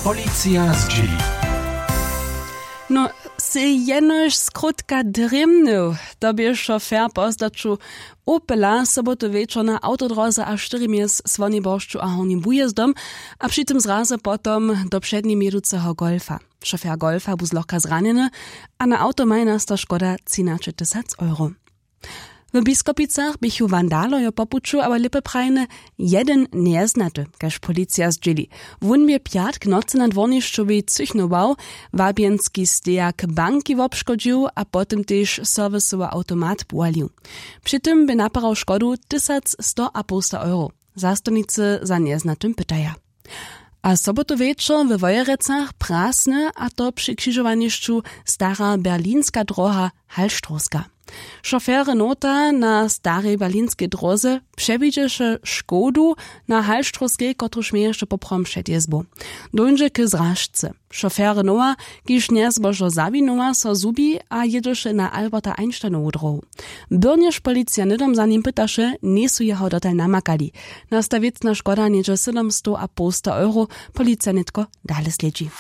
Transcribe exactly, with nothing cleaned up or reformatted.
Policija zdźěli. No, sej jenož skrótka drěmnył. To bě šofer po zdaću opela sobotu wječor na awtodróze a štyri mjez słoniboršću a hornim wujězdom, a při tym zrazy potom do přednje měduceho golfa. Šofer golfa bu zlochka zranjeny, a na awto maje nasta škoda třinaćetysac euro. W Biskopicach běchu wandalojo po puću abo lěpy prajne, jeden njeznaty, kaž policija zdźěli. Wón bě pjatk nocy na dwornišćowej cychnował, wabjenski stejak banki wobškodźił a potom tež serwisowy awtomat płalił. Při tym bě naparał škodu tysac sto a połsta euro. Zastupnicy za njeznatym pytaja. A sobotu wječor we Wojerecach prasny, a to při křižowanišću stara berlinska droha, halštrowska. Šofer renaulta na starej berlinskej dróze přewidźeše škodu na halštrowskej, kotruž měješe poprawom před jězbu. Dóńdźe k zražce. Šofer renaulta, kiž njezbožo zawinuła, so zhubi a jědźeše na alberta einsteinowu dróhu. Byrnjež policija hnydom za nim pytaše, njejsu jeho dotal namakali. Nasta wěcna škoda něhdźe sydomstow a połsta euro. Policija nětko dale slědźi.